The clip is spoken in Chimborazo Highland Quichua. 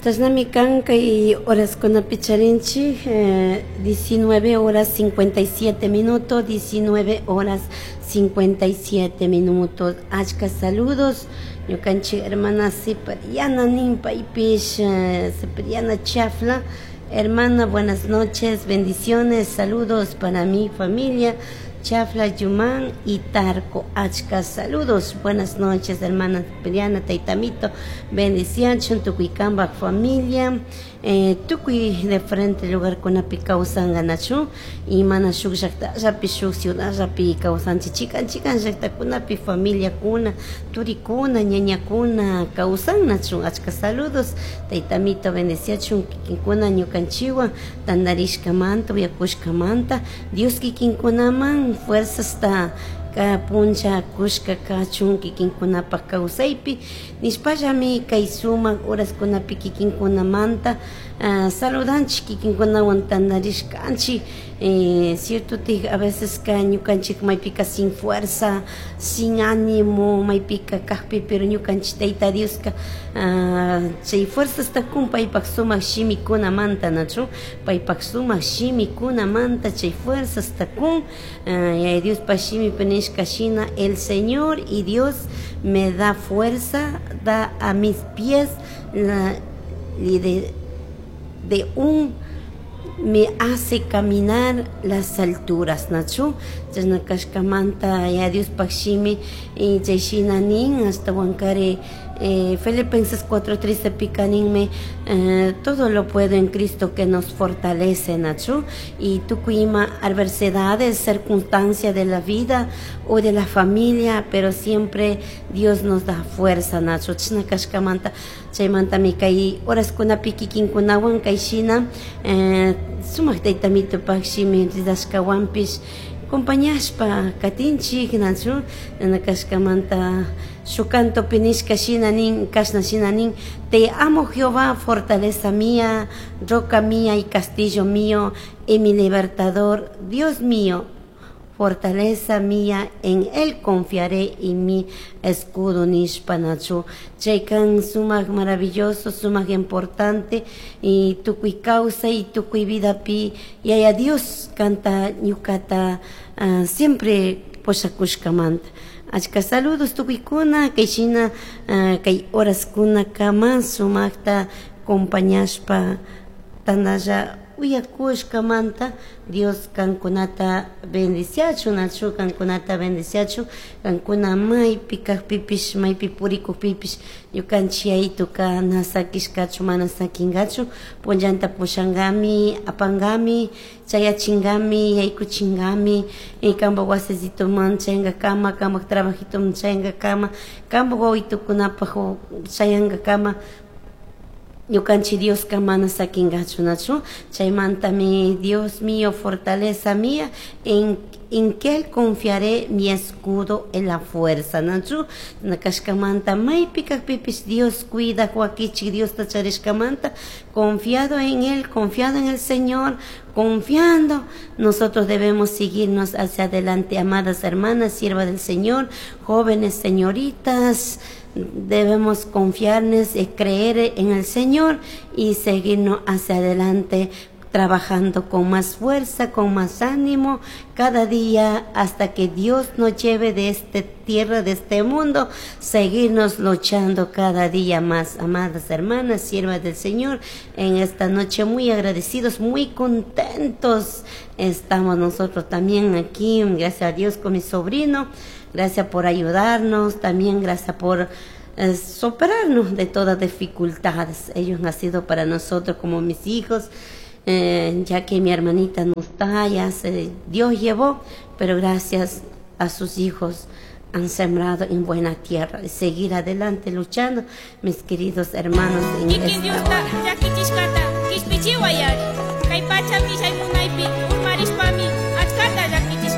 Chashnami kan kay horaskunapi charinchik 19 horas 57 minutos, 19 horas 57 minutos. Achka saludos ñukanchik hermana Cipriana nin paypish, Cipriana Chafla. Hermana, buenas noches, bendiciones, saludos para mi familia Chafla, Yumán y Tarco. Achka saludos, buenas noches, hermana Cipriana, taitamito, bendición, tukuy kambaj familia, tukuy diferente lugarkunapi kawsanganachu, y mana shuk llaktallapi, shuk ciudadllapi kawsanchik, chikan chikan llaktakunapi familiakuna, turikuna, ñañakuna kawsannachu. Achka saludos, taitamito, bendiciachun kikinkuna ñukanchikwan tantarishkamanta, uyakushkamanta, Dios kikinkunaman fuerzasta ka puncha kushka kachun kikinkunapak kawsaypi nishpallami kay sumak horaskunapi kikinkunamanta saludanchik, kikinkunawan tantarishkanchik. Cierto tik a veces ka ñukanchik maypika sin fuerza, sin ánimo maypika kajpi, pero ñukanchik Tayta Dioska chay fuerzasta kun paypak sumak shimikunamanta, nachu paypak sumak shimikunamanta chay fuerzasta kun. Yaya Diospak shimipi nishka shina, el Señor y Dios me da fuerza, da a mis pies la de un me hace caminar las alturas, nachu chashna kashkamanta ya Diospak shimi chay shina nin. Ashtawankari Filipenses 4:13 pika ninmi, todo lo puedo en Cristo que nos fortalece, nachu. Y tukuy ima adversidades, circunstancias de la vida o de la familia, pero siempre Dios nos da fuerza, nachu. Chashna kashkamanta chaymantami kay horaskunapi kikinkunawan kay shina sumak taytamitupak shimi ridashkawanpish acompañashpa katinchik, nachu. Kashkamanta shuk cantopi nishka shina nin, kashna shina nin: te amo, Jehová, fortaleza mía, roca mía y castillo mío y mi libertador, Dios mío, fortaleza mía, en él confiaré y mi escudo nishpa, nachu. Chaykan sumak maravilloso, sumak importante y tukuy kawsay y tukuy vidapi Yaya Dios kanta ñukata siempre pushakushkamanta. Achka saludos tukuykuna kay shina kay horaskuna kama sumakta acompañashpa tandalla uyakushkamanta. Dios kankunata bendiciachun, nachu, kankunata bendiciachun. Kankuna maypi kajpipish, maypi purikukpipish, ñukanchik yayituka na sakishkachu, mana sakingachu, punllanta pushankami, apangami, chayachingami, yaykuchingami kanpak wasisituman chayankakama, kanpak trabajitoman chayankakama, kanpak wawitukunapak chayankakama, ñukanchik Dioska mana sakingachu, nachu. Chaymantami Dios mío, fortaleza mía, en que él confiaré, mi escudo en la fuerza, nachu. Kashkamanta maypi kajpipish Dios cuida wakichik Diosta charishkamanta, confiado en él, confiado en el Señor, confiando, nosotros debemos seguirnos hacia adelante, amadas hermanas, sierva del Señor, jóvenes, señoritas, debemos confiarnos y creer en el Señor y seguirnos hacia adelante, trabajando con más fuerza, con más ánimo, cada día hasta que Dios nos lleve de esta tierra, de este mundo, seguirnos luchando cada día más, amadas hermanas, siervas del Señor. En esta noche muy agradecidos, muy contentos estamos nosotros también aquí, gracias a Dios con mi sobrino, gracias por ayudarnos, también gracias por superarnos de todas dificultades. Ellos han sido para nosotros como mis hijos, ya que mi hermanita no está, ya se, Dios llevó, pero gracias a sus hijos han sembrado en buena tierra. Y seguir adelante luchando, mis queridos hermanos, en Kikin esta Diosta hora. Llakichishkata kishpichiwayari. Kay pacha millay munaypi urmarishpami.